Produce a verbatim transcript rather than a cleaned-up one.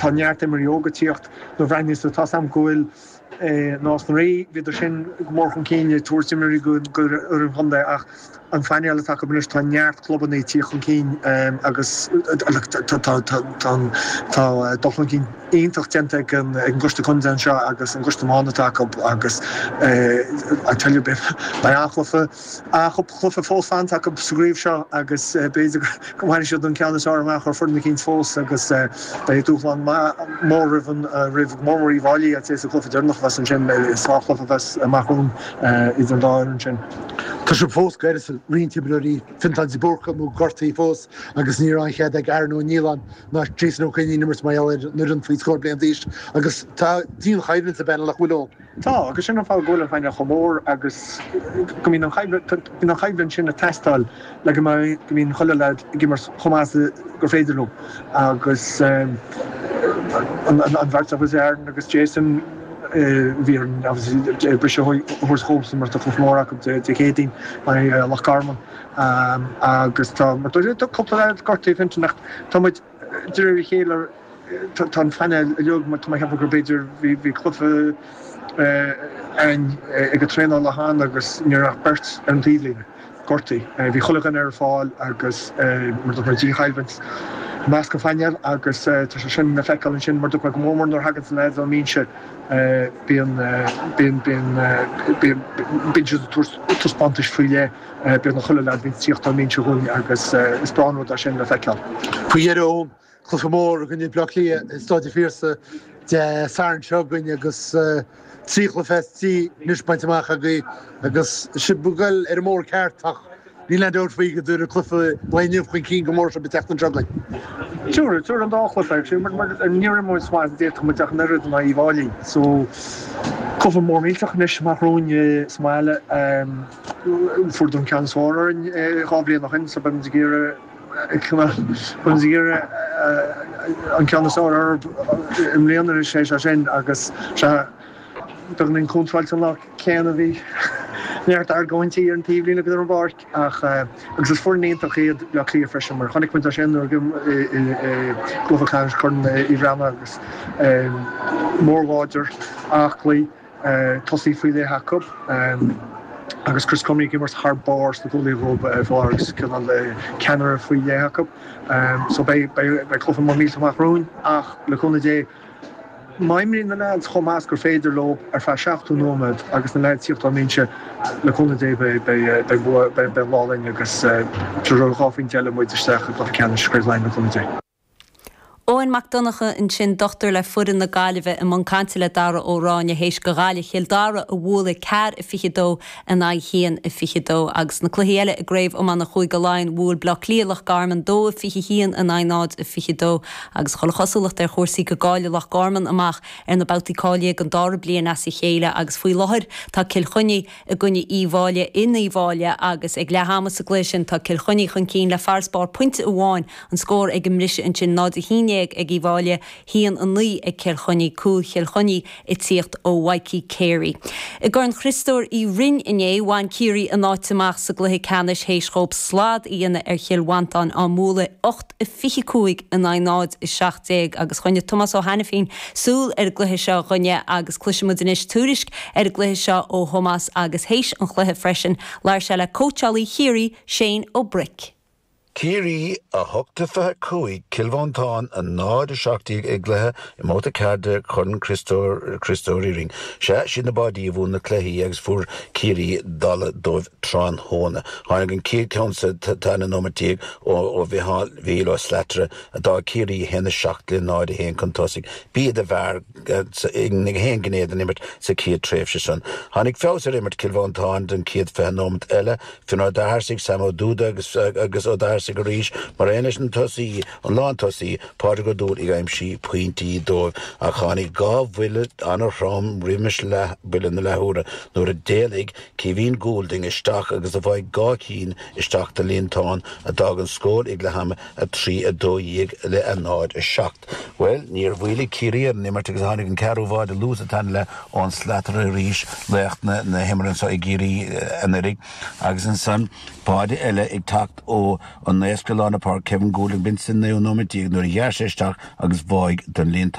Tá neart imreoirí óga ag tíocht nuair a bhreathnaíos tú, tá 's a'm go bhfuil Nás na Rí, bhíodar sin go mór chun cinn ag tabhairt imreoirí go fhoireann chontae ach an phainéal atá acu anois tá neart clubanna ag tíocht chun cinn agus tá dul chun cinn iontach déanta ag an gcoiste contae anseo agus an coiste iomána atá acu agus I tell you beidh an-chluiche an-chluiche fós fanta acu sa gcraobh seo agus b'fhéidir go mbainfidh siad an ceann is fearr amach ar foireann eicínt fós agus beidh dúshlán mór roimh an roimh go mór mór Uíbh Fhailí I'd say sa chluiche deireanach a bheas ansin sárchluiche a bheas amach romhainn idir an dá fhoireann sin. Tá sibh fós ag goil roinnt imreoirí Fintán de Búrca nó gortaithe fós agus ní raibh an chead ag Aaron Ó Nialláin ná Jason Ó Coinín imirt mar gheall ar an fhoireann faoi scór bliain d'aois agus tá dian-choimhlint sa bpainéal nach bhfuil ann. Tá, agus sin an fáth go bhfuil an painéal chomh mór agus go mbíonn an choimhlint bíonn an choimhlint sin ag teastáil le go mbeidh go mbíonn chuile leaid ag imirt chomh maith is gur féidir leo agus an bheirt agus Aaron agus Jason bhí an obviously briseadh a thabhairt dhóibhsan mar tá cluiche mór acu Dé Céadaoin in Loch Garman agus tá mar tá cúpla leaid gortaithe Fintan ach tá muid de réir a chéile tá an phainéal uilig mar tá mé ag ceapadh gur b'fhéidir bhí bhí cluiche againn ag an traenáil cheana agus ní raibh ach beirt ar an taobhlíne gortaithe. Bhí chuile dhuine ar fáil agus mar dúirt mé dian-choimhlint i measc an phainéil agus tá sé sin le feiceáil ansin mar dúirt mé go mór mór nuair a thagann na leaids ón mbinse bíonn bíonn bíonn bíonn bíonn siad ag tabhairt taispeántais faoi leith beagnach chuile leaid bíonn tíocht ón mbinse chugainn agus is breá an rud é sin le feiceáil. Faoi dheireadh cluiche mór i gcoinne Bleá Cliath i Staid an Phiarsaigh Dé Sathairn seo chugainn agus trí chluiche as trí anois bainte amach agaibh agus sibh ag goil ar an mbóthar ceart ach níl aon dabht faoi go dtabharfaidh cluiche lae inniu chun cinn go mór sibh an tseachtain seo chugainn. Tabharfaidh, tabharfaidh an dá chluiche actually mar mar níor imir muid chomh maith is a d'fhéadfadh muid ach an oiread in aghaidh Uíbh Fhailí so cluiche mór millteach anois amach romhainn sa mbaile. Fuaireadar an ceann is fearr orainn dhá bhliain ó shin so beidh muid ag iarraidh beidh muid ag iarraidh an ceann is fearr orthu i mbliana anois é sin agus sea beagáinín contráilte an lá céanna bhí neart argóintí ar an taobhlíne agus ar an bpáirc ach agus is foireann iontach iad Bleá Cliath freisin mar chonaic muid é sin nuair i gcluiche ceannais Chorn Uí Bhraonáin agus mór láidir aclaí tosaí faoi leith acu agus Chris Crummey ag imirt thar barr sna cúlaithe dhóibh faoi láthair agus cineál ceannaire faoi leith acu. So beidh beidh cluiche mór millteach amach romhainn ach le cúnamh Dé má imríonn na leaids chomh maith is gur féidir leo ar feadh seachtó nóiméad agus na leaids tíocht ón mbinse le cúnamh Dé beidh beidh bua beidh an lá linn agus tabharfaidh dhá phointe eile muid isteach i gcluiche ceannais Chraobh Laighean le cúnamh Dé. Eoin Mac Donncha ansin dochtúir le foireann na Gaillimhe i mbun cainte le Dara Ó Ráinne théis do Ghaillimh Chill Dara a bhualadh ceathair a fiche dó in aghaidh haon a fiche dó agus na cluichí eile i gcraobh iomána Chúige Laighean bhuail Bleá Cliath Loch Garman dó a fiche haon in aghaidh náid a fiche dó agus chuile chosúlacht ar chúrsaí go gcaillfidh Loch Garman amach ar na babhtaí cáilithe don dara bliain as a chéile agus faoi láthair tá Cill Chainnigh i gcoinne Uíbh Fhailí in Uíbh Fhailí agus ag leath ama sa gcluiche sin tá Cill Chainnigh chun cinn le farasbarr pointe amháin an scór ag an mbriseadh ansin náid a haon déag ag Uíbh Fhailí haon a naoi ag Cill Chainnigh cúl Chill Chainnigh ag tíocht ó Mhikey Carey. I gCorn Chriostóir Uí Rinn inné bhain Ciarraí a n-áit amach sa gcluiche ceannais théis dhóibh slad a dhéanamh ar Chill Mhantáin á mbualadh ocht a fiche cúig in aghaidh náid a seacht déag agus choinnigh Tomás Ó hAiniféin súil ar an gcluiche seo dhúinne agus cloisfimid anois tuairisc ar an gcluiche seo ó Thomás agus théis an chluiche freisin labhair sé le cóitseálaí Chiarraí Shane Ó Bric. Ciarraí a hocht a fiche cúig Cill Mhantáin a náid a seacht déag i gcluiche i mbabhta ceathair de Chorn Chriostóir Chriostóir Uí Rinn. Sea siad na báidí a bhuaigh na cluichí agus fuair Ciarraí dalladh dóibh tráthnóna. Tháinig an chéad ceann sa tarna nóiméad déag ó ó Mhicheál Mhícheál Ó Slatara a d'fhág Ciarraí a haon a seacht le náid a haon chun tosaigh. B'iad a bhfearr ag haon ghné den imirt sa chéad tréimhse san. Tháinig feabhas ar imirt Cill Mhantáin den chéad fiche nóiméad eile, Fionn Ó Darsaigh, Sam Ó Dúda agus agus Ó Darsaigh arís mar aon leis an tosaí an lántosaí Pádraig Ó Dúill ag aimsiú pointí dóibh ach tháinig dhá bhuille an-throm roimis leath buille na leathuaire nuair a d'éalaigh Kevin Goulding isteach agus a bhain dhá cinn isteach do líontán a d'fhág an scór ag leath ama a trí a dó dhéag le a náid a seacht. Well níor mhaolaigh Ciarraí ar an imirt agus tháinig an ceathrú báide luath sa tarna leath ón Slatara arís laoch na na himeartha anseo i gCiarraí anuraidh agus ansan báide eile ag teacht ó An naosc lán páirce Kevin Goulding b'in sa naoú nóiméad déag nuair a ghearr sé isteach agus bháigh don líontán.